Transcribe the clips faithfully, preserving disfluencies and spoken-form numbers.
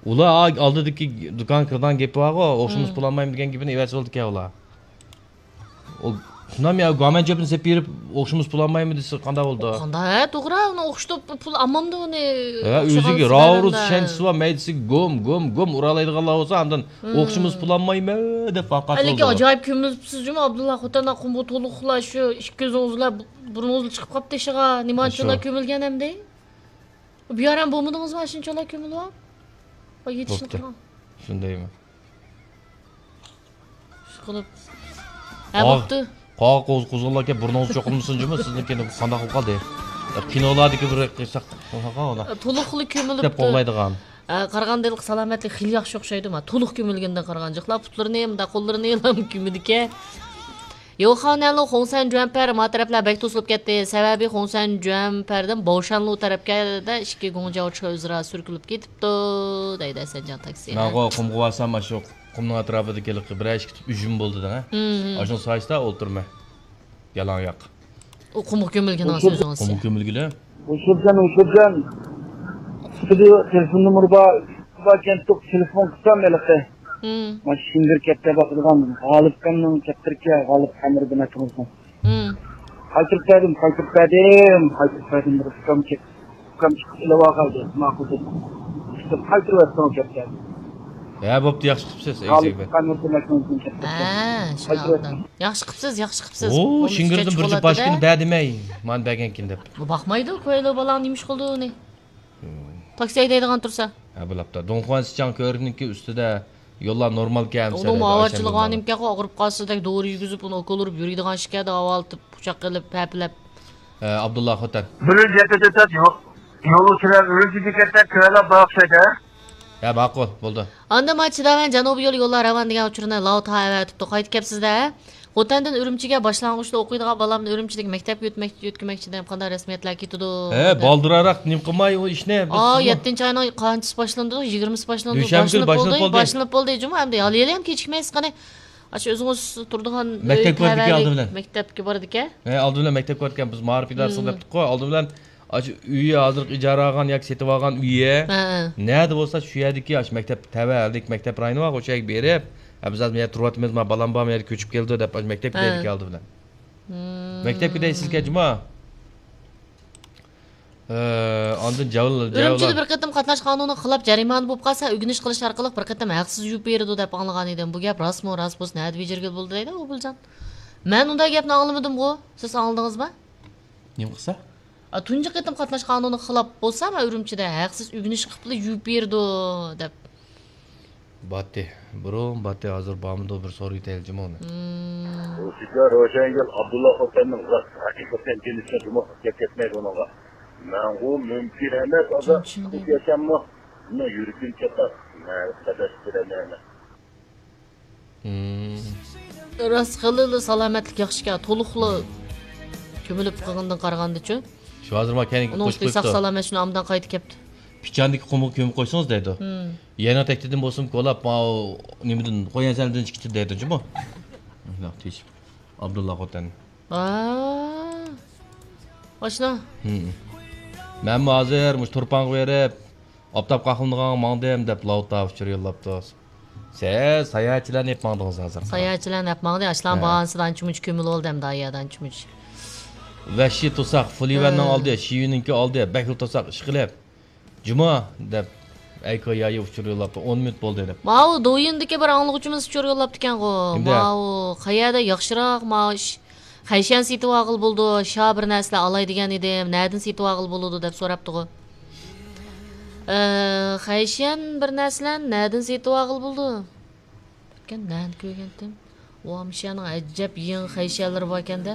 ئۇلار ئا-، ئالدىدىكى دۇكانغا كىرىدىغان گېپى بارغۇ، ئوخشىمىسا پۇل ئالمايمەن دېگەن گېپىنى ئەۋەتسە بولىدىكەن ئۇلار. ئۇ شۇنداقمۇ يا، گۇامان چۆپىنى سېلىپ بېرىپ، ئوخشىمىسا پۇل ئالمايمەن دېسە قانداق بولىدۇ؟ قانداق، ھە، توغرا، ئۇنى ئوخشىتىپ پۇل ئالمامدۇ ئۇنى؟ ھە، ئۆزىگە راۋۇرۇس چۈشەنچىسى بار، مەيدىسىگە گوم، گوم، گوم ئۇرالايدىغانلار بولسا، ئاندىن ئوخشىمىسا پۇل ئالمايمەن دەپ ۋارقىراپ. ھېلىكى ئاجايىپ كۆمۈلۈپسىز جۇمۇ، ئابدۇللا خوتەن، قۇمۇ تولۇقلا شۇ ئىككى كۆزىڭىزلا، بۇرنىڭىزلا چىقىپ قاپتۇ ئىشىغا، نېمانچىلا كۆمۈلگەن ئەمدى؟ بىيارەم بولمىدىڭىزمۇ ئاشۇنچىلا كۆمۈلۈپ؟ ۋاي، يېتىشىنى بوپتۇ. قىلغان. شۇندايمۇ؟ ئىشقىلىپ. ھە، بوپتۇ. قاغا قوز-، قوزغىلاڭ ئاكا، بۇرنىڭىز چوقۇلمىسۇن جۇمۇ، سىزنىڭكى قانداق بولۇپ قالدى؟ كىنولاردىكى بىر قىساق، تولۇقلا كۆمۈلۈپتۇ. دەپ قوغلايدىغان. ئە، قارىغاندا ھېلىقى سالامەتلىك خېلى ياخشى ئوخشايدۇ، ما، تولۇق كۆمۈلگەندىن قارىغاندا جىقلا، پۇتلىرىنى، مۇنداق قوللىرىنى كۆمىدىكەن. يوخانەنلۇ خوڭسەن جۈەنپەر ما تەرەپلەر بەك توسۇلۇپ كەتتى. سەۋەبى خوڭسەن جۈەنپەردىن باۋشانلۇ تەرەپكە ئىككى گۇڭجياۋ چىخې ئۆزئارا سۈركىلىپ كېتىپتۇ، دەيدۇ ھەسەنجان تاكسى. مەنغۇ قۇمغا بارسام، ئاشۇ قۇمنىڭ ئەتراپىدىكى بىرەر ئىككى تۈپ ئۈجۈم بولدى دەڭە. ھىم، ھىم. ئاشۇنىڭ سايىسىدا ئولتۇرىمەن. يالاڭ ياق. ئۇ قۇمغا كۆمۈلگىنىڭ سۆزىڭىز. قۇمغا كۆمۈلگىلى. ئۇشۇرجان، ئۇشۇرجان. سىلى تېلېفون نومۇرى بار، بار ئىكەن، تېلېفون قىلسام ھېلىقى. ھىم. مانا شىڭگىر كەپتە باقىدىغان غالىپكەمنىڭ كەپتىرىكى، غالىپ ئەمىر دېمەك تۇرسۇن. ھىم. قايتۇرۇپ بەردىم، قايتۇرۇپ بەردىم، قايتۇرۇپ بەردىم، بىر ئۇكام چەك-، ئۇكام چىقىپ ئېلىۋالغايدى، ماقۇل دېدىم. قايتۇرۇۋەتسىڭىز كەپتە. ھە، بوپتۇ، ياخشى قىپسىز، غالىپ ئەمىر دېمەكنىڭ كەپتە. ھە، شۇنداق. قايتۇرۇۋەتسىڭىز. ياخشى قىپسىز، ياخشى قىپسىز. ئۇ شىڭگىردىن بىر جۈپ باشكىنى بەر دېمەي، مانا بەرگەنكىن دەپ. بۇ باقمايدۇ، كويلۇ بالاڭ نېمە ئىش قىلدى ئۇنى؟ تاكسى ھەيدەيدىغان تۇرسا. ھە، بولاپتۇ. دۇڭخۇان سىچاڭ كۆۋرۈكنىڭكى ئۈستىدە يوللار نورمالكەن. ئۇنىڭمۇ ئاۋارىچىلىقى بار نېمىكەنغۇ، ئاغرىپ قالسا دەك دورا يېگۈزۈپ، ئۇنى ئوكۇل ئۇرۇپ يۈرىدىغان ئىشكەن، داۋالىتىپ، قۇچاق قىلىپ، ھەپىلەپ. ئە، ئابدۇللا خوتەن. بىرىنچى يەتتە تۆت يول، يول ئۈستىدە ئۈرۈمچىدىن كەتسەك، كۆۋەنلەپ باقسايدۇ. ھە، ماقۇل، بولدى. ئاندىن ما چىداۋەن جەنۇبىي يول يوللار راۋان دېگەن ئۇچۇرنى لاۋۇتا ئەۋەتىپتۇ. قايتىپ كەپسىز-دە. خوتەندىن ئۈرۈمچىگە باشلانغۇچتا ئوقۇيدىغان بالامنى ئۈرۈمچىدىكى مەكتەپكە يۆتمەك-، يۆتكىمەكچىدىم. قانداق رەسمىيەتلەر كېتىدۇ؟ ھە، دەپ. بالدۇرراق نېمە قىلماي ئۇ ئىشنى، ھە، بىلسىزمۇ؟ يەتتىنچى ئاينىڭ قانچىسى باشلىنىدۇ؟ يىگىرمىسى باشلىنىدۇ. دۈشەنبە كۈنى باشلىنىپ بولدى، باشلىنىپ بولدى. باشلىنىپ بولدى، جۇمۇ، ئەمدى ھالى ھېلىھەم كېچىكمەيسىز قېنى. ئاشۇ ئۆزىڭىز تۇرىدىغان ئۆي مەكتەپكە بارىدىكەن، تەۋەلىك ئالدى بىلەن. مەكتەپكە بارىدىكەن. ھە، ئالدى بىلەن مەكتەپكە بارىدىكەن. بىز مائارىپ ئىدارىسىغا دەپتۇققۇ، ئالدى بىلەن ئاشۇ ئۆيى ھازىرقى ئىجارە ئالغان ياكى سېتىۋالغان ئۆيى ھە، ھە. نەدە بولسا شۇ يەردىكى ئاشۇ مەكتەپ تەۋە، ھەدىكى مەكتەپ رايونى بارغۇ، شۇ يەرگە بېرىپ، ھە، بىز ھازىر بۇ يەردە تۇرۇۋاتىمىز، ما بالام بار، ما يەردە كۆچۈپ كېلىدۇ دەپ، ئاشۇ مەكتەپكە ھە. دەيدىكەن ئالدى بىلەن. مم. مەكتەپكە دەيسىزكەن جۇمۇ. ئە، ئاندىن جاۋ-، ئۈرۈمچىدە جاۋلار. بىر قېتىم قاتناش قانۇنىغا خىلاپ جەرىمانە بولۇپ قالسا، ئۆگىنىش قىلىش ئارقىلىق بىر قېتىم ھەقسىز يۇيۇپ بېرىدۇ دەپ ئاڭلىغان ئىدىم. بۇ گەپ راستمۇ؟ راست بولسا نەدە بېجىرگىلى بولىدۇ دەيدۇ ئوبۇلجان. مەن ئۇنداق گەپنى ئاڭلىمىدىمغۇ؟ سىز ئاڭلىدىڭىزمۇ؟ نېمە قىلسا؟ ئا، تۇنجى قېتىم قاتناش قانۇنىغا خىلاپ بولسا، مەن ئۈرۈمچىدە ھەقسىز ئۆگىنىش قىپلا يۇيۇپ بېرىدۇ دەپ. باتتى. بۇرۇن باتتى، ھازىر بارمىدۇ، بىر سورىۋېتەيلى جۇمۇ ئۇنى. مم. روشىجان روشەنگۈل ئابدۇللا خوتەننىڭ راست ھەقىقەتەن جىنىسى جۇمۇ گەپ كەتمەيدۇ ئۇنىڭغا. مەنغۇ مۇمكىن ئەمەس، ئازا چۈشىنىمەن. ياشاممۇ. مېنىڭ يۈرىكىم چاتاق. مەن قەدەش بېرەلمەيمەن. مم. راست خېلىلا سالامەتلىك ياخشىكەن، تولۇقلا كۆمۈلۈپ قالغىنىدىن قارىغاندىچۇ. شۇ ھازىر ما كەينىگە ئۇنىڭ قوشۇپ ئۈستىگە ساق قويۇپتۇ. سالامەت شۇنى ئامدان قايتا كەپتۇ. پىچاندىكى قۇمغا كۆمۈپ قويسىڭىز دەيدۇ. مم. يەنە تەكتىدىن بولسىمۇ كولاپ، ماۋۇ نېمىدىن، قويەن سەندىن چىقتى دەيدۇ جۇمۇ. شۇنداق تېشىپ. ئابدۇللا خوتەن. ۋا. ئاشنا. مم. مەنمۇ ھازىر مۇشۇ تۇرپانغا بېرىپ، ئاپتاپ قاقلىنىدىغانغا ماڭدىم دەپ لاۋۇتا ئۇچۇر يوللاپتۇ. سىز ساياھەتچىلەرنى ئېلىپ ماڭدىڭىز ھازىر. ساياھەتچىلەرنى ئېلىپ ماڭدى. ئاشلارنىڭ ھە. باھانىسىدا ئانچە-مۇنچە كۆمۈلۈۋالدى ئەمدى ئايادا ئانچە-مۇنچە. ۋەھشىي توساق، فۇلىۋەننىڭ ھە. ئالدى، شىۋىنىڭكى ئالدى، بەكلا توساق ئىش قىلىپ. جۇمۇ دەپ، ئەي كويايى ئۇچۇر يوللاپتۇ، ئون مىنۇت بولدى دەپ. ماۋۇ دويىندىكى بىر ئاڭلىغۇچىمىز ئۇچۇر يوللاپتىكەنغۇ. كىمدە؟ ماۋۇ قەيەردە ياخشىراق مائاش خەيشەن سېتىۋالغىلى بولىدۇ، شا بىر نەرسىلەر ئالاي دېگەن ئىدىم، نەدىن سېتىۋالغىلى بولىدۇ دەپ سوراپتىغۇ. ئە، خەيشەن بىر نەرسىلەرنى نەدىن سېتىۋالغىلى بولىدۇ؟ بىركەن نەنى كۆرگەنتىم؟ ۋا، مۇشۇ يەرنىڭ ئەجەب يېڭى خەيشەنلىرى باركەن-دە.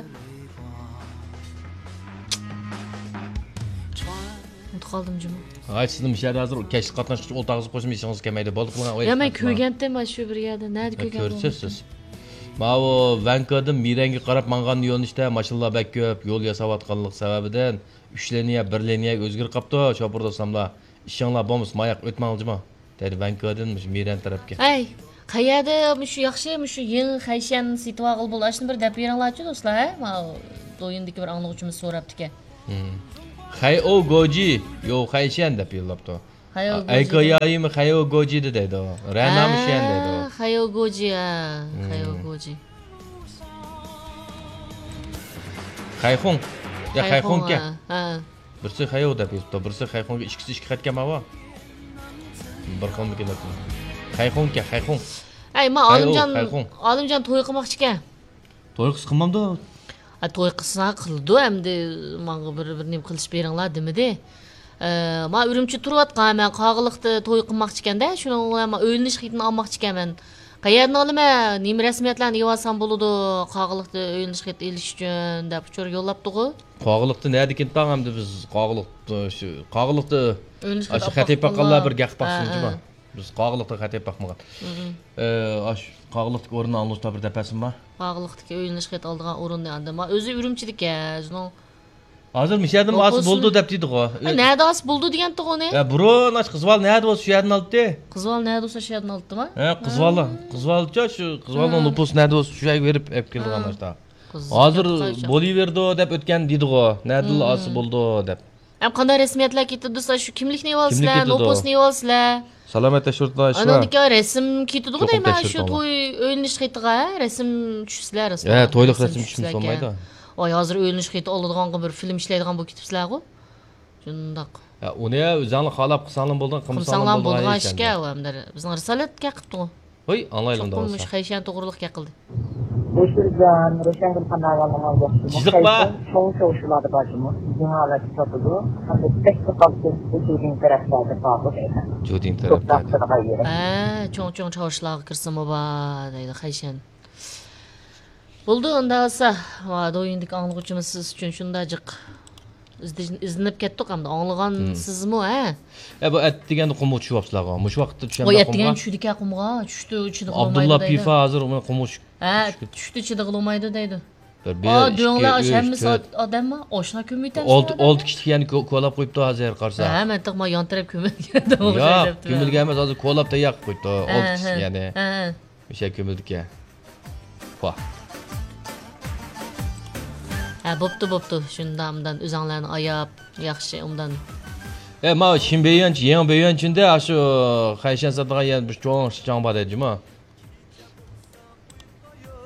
ئۇنتۇپ قالدىم جۇمۇ. ھاي، سىزنىڭ مۇشۇ يەردە ھازىر كەچلىك قاتناشقۇچى ئولتۇرغۇزۇپ قويسىمۇ ئېسىڭىزگە كەلمەيدۇ. بولدى، قىلىڭ. يا، مەن كۆرگەنتىم مانا شۇ بىر يەردە. نەدە كۆرگەن بولدۇم؟ كۆرسىز سىز. ماۋۇ ۋەنكودىن مىرەنگە قاراپ ماڭغان يۆنىلىشتە ماشىنىلار بەك كۆپ، يول ياساۋاتقانلىق سەۋەبىدىن ئۈچ لىنىيە، بىر لىنىيەگە ئۆزگىرىپ قاپتۇ، شوپۇر دوستلار. ئىشىڭلار بولمىسا ماياق ئۆتمەڭلار جۇمۇ. دەيدۇ ۋەنكودىن مۇشۇ مىرەن تەرەپكە. ھەي، قەيەردە مۇشۇ ياخشى، مۇشۇ يېڭى خەيشەن سېتىۋالغىلى بولىدۇ، ئاشۇنى بىر دەپ بېرىڭلارچۇ دوستلار، ھە؟ ماۋۇ دويىندىكى بىر ئاڭلىغۇچىمىز سوراپتىكەن. خەي ئو گوجى، يو خەيشەن دەپ يوللاپتۇ. خەييو گوجى. ئەيكويايىمۇ خەييو گوجى دەيدۇ. رەنامۇ شيەن دەيدۇ. ھە، خەييو گوجى، ھە. خەييو گوجى. خەيخۇڭ. يا، خەيخۇڭكەن. ھە، ھە. بىرسى خەييو دەپ يېزىپتۇ، بىرسى خەيخۇڭكەن. ئىككىسى ئىككى خەتكەن ماۋۇ. بىر خىلمىكىن دەپ. خەيخۇڭكەن، خەيخۇڭ. ئەي، ما خەيخۇڭ، ئالىمجان، خەيخۇڭ. ئالىمجان توي قىلماقچىكەن. توي قىلسا قىلمامدۇ؟ ئا، توي قىلسا قىلىدۇ ئەمدى، ماڭا بىر، بىر نېمە قىلىش بېرىڭلار دېمىدى. ئە، ما ئۈرۈمچىدە تۇرۇۋاتقان، مەن قاغىلىقتا توي قىلماقچىكەن-دە، شۇنىڭ بىلەن ما ئۆيلىنىش خېتىنى ئالماقچىكەن مەن. قەيەردىن ئالىمەن؟ نېمە رەسمىيەتلەرنى ئېلىۋالسام بولىدۇ، قاغىلىقتا ئۆيلىنىش خېتى ئېلىش ئۈچۈن دەپ ئۇچۇر يوللاپتىغۇ. قاغىلىقتا نەدىكىن تاڭ ئەمدى بىز قاغىلىقتا، شۇ، قاغىلىقتا ئۆيلىنىش خېتى ئاشۇ خەت ئېلىپ باققانلار بىر گەپ باقسۇن، ھە، جۇما. ھە. بىز قاغىلىقتا خەت ئېلىپ باقمىغان. مم. ئە، ئاشۇ قاغىلىقتىكى ئورۇننى ئاڭلىشتا بىر دەپەسىم بار. قاغىلىقتىكى ئۆيلىنىش خېتى ئالىدىغان ئورۇننى ئاندىن ما ئۆزى ئۈرۈمچىدىكەن، ئۆزىنىڭ ھازىر مۇشۇ يەردىمۇ ئاسا بولدى دەپ دېدىغۇ. ئە، نەدە ئاسا بولدى دېگەنتىغۇ ئۇنى؟ ئە، بۇرۇن ئاشۇ قىزۋال نەدە بولسا شۇ يەردىن ئالاتتى. قىزۋال نەدە بولسا شۇ يەردىن ئالاتتىما؟ ھە، قىزۋالدا، قىزۋالدىچۇ شۇ قىزۋالنىڭ نوپۇسى نەدە بولسا شۇ يەرگە بېرىپ ئېلىپ كېلىدىغان ئاشتا. ھازىر بولۇۋېرىدۇ دەپ ئۆتكەن دېدىغۇ. نەدىلا ئاسا بولدى دەپ. ئەم قانداق رەسمىيەتلەر كېتىدۇ دېسە، شۇ كىملىكنى ئېلىۋالىسىلەر، نوپۇسنى ئېلىۋالىسىلەر. سالامەت تەكشۈرتۈڭلار. ئاندىن كېيىن رەسىم كېتىدىغۇ دەيمەن، شۇ توي ئۆيلىنىش خېتىغا، ھە، رەسىم چۈشسىلەر، ھە، تويلۇق رەسىم چۈشمىسە بولمايدۇ. ۋاي، ھازىر ئۆيلىنىش خېتى ئالىدىغانغا بىر فىلىم ئىشلەيدىغان بولۇپ كېتىپسىلەرغۇ. شۇنداق. ھە، ئۇنى ئۆزۈڭلار خالاپ قىلساڭلار بولىدىغان، قىلمىساڭلار بولىدىغان ئىش ئىكەن. ئۇ ھەم بىزنىڭ رىسالەتكە قىپتۇغۇ. ھوي، ئاڭلايلى ئۇنداق بولسا. چوقۇم مۇشۇ خەيشەن توغرۇلۇق گەپ قىلدى. بۇ سۆزلەرنى روشەنگۈل خانىم ئايالىڭىز ياخشىمۇ؟ جىزىق بار. چوڭ چوڭ شۇلاردا بار جۇمۇ. جىڭ ھالەتتە ساتىدۇ. ھەمدە بەك قالسا بۇ جۇدىن تەرەپلەردە بارغۇ دەيمەن. جۇدىن تەرەپلەردە. ھە، چوڭ چوڭ چاۋشىلارغا كىرسىمۇ بار دەيدۇ خەيشەن. بولدى، ئۇنداق بولسا، ۋا، دويىندىكى ئاڭلىغۇچىمىز سىز ئۈچۈن شۇنداق جىق ئىزدىن-، ئىزدىنىپ كەتتۇق ئەمدى. ئاڭلىغانسىزمۇ، ھە؟ ئە، بۇ ئەتىگەندە قۇمغا چۈشۈۋاپسىلەرغۇ. مۇشۇ ۋاقىتتا چۈشەمدە قۇمغا. ئەتىگەن چۈشىدىكەن قۇمغا، چۈشتە چىدىغىلى بولمايدۇ دەيدۇ. ئابدۇللا پىفا ھازىر ئۇنى قۇمغا چۈشۈپ. ھە، چۈشتە چىدىغىلى بولمايدۇ دەيدۇ. بىر، بىر، ئىككى، ئۈچ، تۆت. ئادەممۇ ئاشۇنداق كۆمۈۋېتەمسىز؟ ئالتە، ئالتە كىشىلىك يەنە كو-، كولاپ قويۇپتۇ ھازىر قارىسا. ھە، مەن تېخى ما يان تەرەپ كۆمۈلگەن. ياق، كۆمۈلگەن ئەمەس، ھازىر كولاپ تەييار قىلىپ قويۇپتۇ. ئالتە كىشىلىك يەنە. ھە، ھە. ئۆشە كۆمۈلدىكەن. ۋاھ. ھە، بوپتۇ، بوپتۇ. شۇنداق ئۇندان ئۆزۈڭلارنى ئاياپ، ياخشى ئۇندان. ئە، ماۋۇ شىن بېيۈەنچ، يېڭى بېيۈەنچىندە ئاشۇ خەيشەن ساتىدىغان يەر بىر چوڭ شىچاڭ بار دەيدۇ جۇمۇ.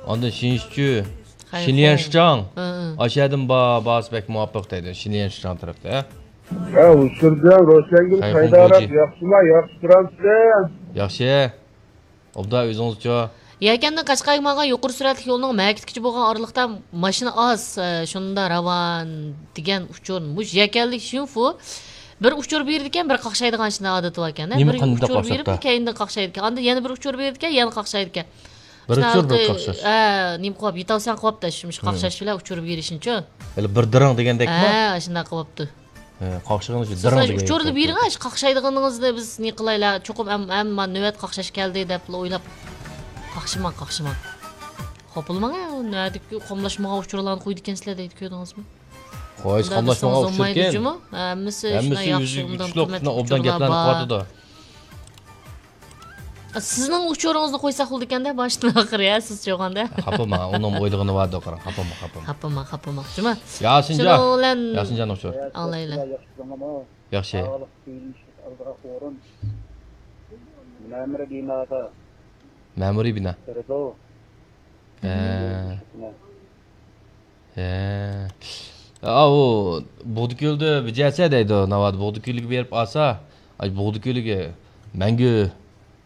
ئاندىن شىنشىچۈ، شىنيەن شىچاڭ. ھە، ھە. ئاشۇ يەردىن با-، بارسا بەك مۇۋاپىق دەيدۇ، شىنيەن شىچاڭ تەرەپتە. ھە، ھۇشۇرجان، روشەنگۈل خەيدارەپ، ياخشىما، ياخشى تۇرامسىز؟ ياخشى. ئوبدان ئۆزىڭىزچۇ؟ يەكەندىن قەشقەرگە ماڭغان يۇقىرى سۈرئەتلىك يولنىڭ مەكىتكىچە بولغان ئارىلىقتا ماشىنا ئاز، ئە، شۇندا راۋان دېگەن ئۇچۇر. مۇشۇ يەكەنلىك شىنفۇ بىر ئۇچۇر بېرىدىكەن، بىر قاقشايدىغان شۇنداق ئادىتى باركەن. بىر ئۇچۇر بېرىپ، كەينىدىن قاقشايدىكەن. ئاندىن يەنە بىر ئۇچۇر بېرىدىكەن، يەنە قاقشايدىكەن. بىر ئۇچۇر، بىر قاقشاش. ئە، نېمە قىلىپ، يېتەلسەڭ قىلىۋاپتۇ، شۇ قاقشاش بىلەن ئۇچۇر بېرىشنىچۇ. ھېلى بىر دىرىڭ دېگەندەكمۇ؟ ھە، شۇنداق قىلىۋاپتۇ. ھە، قاقشىغىنى شۇ دىرىڭ دېگەن ئۇچۇرنى بېرىڭ، قاقشايدىغىنىڭىزنى بىز نېمە قىلايلى، چوقۇم ئەم-، ئەمما نۆۋەت قاقشاش كەلدى دەپلا ئويلاپ. قاقشىماڭ، قاقشىماڭ. خاپىلىماڭ، نۆۋەتتىكى قاملاشمىغان ئۇچۇرلارنى قويىدىكەنسىلەر دەيدۇ، كۆردىڭىزمۇ؟ قويۇش قاملاشمىغان ئۇچۇركەن. ھەممىسى شۇنداق ياخشى، ئوبدان قىممەتلىك ئۇچۇرلار بار. سىزنىڭ ئۇچۇرىڭىزنى قويساق بولىدىكەندە، باشتىن ئاخىر، يا، سىز چوغاندا. خاپىماڭ، ئۇنىڭ ئويلىغىنى بار، دوقىراڭ. خاپىماڭ، خاپىماڭ. خاپىماڭ، خاپىماڭ. جۇما. ياسىنجان. شۇنىڭ بىلەن ياسىنجان ئۇچۇر. ئاڭلايلى. ياخشى. مەمۇرىي بىنادا. مەمۇرىي بىنا. ھە. ھە. ئاۋۇ بۇغدىكۆلدە بىجەسە دەيدۇ، ناۋادا بۇغدىكۆلگە بېرىپ ئالسا، ئاي، بۇغدىكۆلگە مەڭگۈ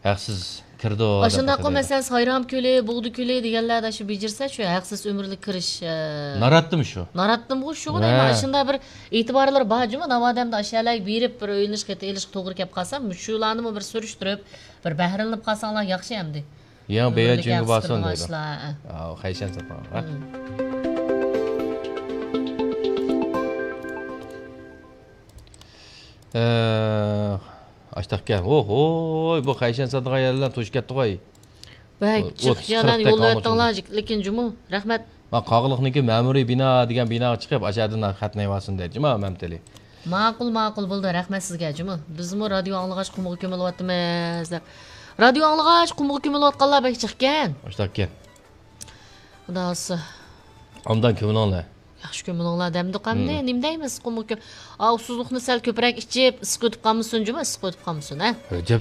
ھەقسىز كىرىدۇ دەپ ئاشۇنداققۇ، مەسىلەن، سايرام كۆلى، بۇغدا كۆلى دېگەنلەردە شۇ بېجىرسە، شۇ ھەقسىز ئۆمۈرلۈك كىرىش، ئە، ناراتتىمۇ شۇ؟ ناراتتىمۇ شۇغۇ دەيمەن. ھە. ئاشۇنداق بىر ئېتىبارلار بار جۇمۇ، ناۋادا ئەمدى ئاشۇ يەرلەرگە بېرىپ، بىر ئۆيلىنىش خېتى ئېلىشقا توغرا كەپ قالسا، مۇشۇلارنىمۇ بىر سۈرۈشتۈرۈپ، بىر بەھرىلىنىپ قالساڭلار ياخشى ئەمدى. يېڭى بېيەن چۈنگە بارسۇن دەيدۇ. ئاشۇلار، ئە. ئاۋۇ، خەيشەن ساتىدىغان، ھە؟ ھە. ئە، ئاشتاقكەن. ھوي، بۇ خەيشەن ساتىدىغان يەرلەر توشۇپ كەتتىغۇي. بەك جىق يەرلەرنى يوللاۋەتتىڭلار، لېكىن جۇمۇ. رەھمەت. مەن قاغىلىقنىڭكى مەمۇرىي بىنا دېگەن بىناغا چىقىپ، ئاشۇ يەردىن خەتنى ئېلىۋالسۇن دەيدۇ جۇمۇ، مەمتىلى. ماقۇل، ماقۇل، بولدى، رەھمەت سىزگە جۇمۇ. بىزمۇ رادىيو ئاڭلىغاچ قۇمغا كۆمۈلۈۋاتىمىز دەپ. رادىيو ئاڭلىغاچ قۇمغا كۆمۈلۈۋاتقانلار بەك جىقكەن. ئاشتاقكەن. خۇدا خالىسا. ئوبدان كۆمۈلۈڭلار. ياخشى كۆمۈلۈڭلار دەمدۇق ئەمدى. نېمە دەيمىز، قۇمۇ كۆ-، ئا، ئۇسسۇزلۇقنى سەل كۆپرەك ئىچىپ، ئىسسىق ئۆتۈپ قالمىسۇن جۇمۇ، ئىسسىق ئۆتۈپ قالمىسۇن، ھە؟ ئەجەب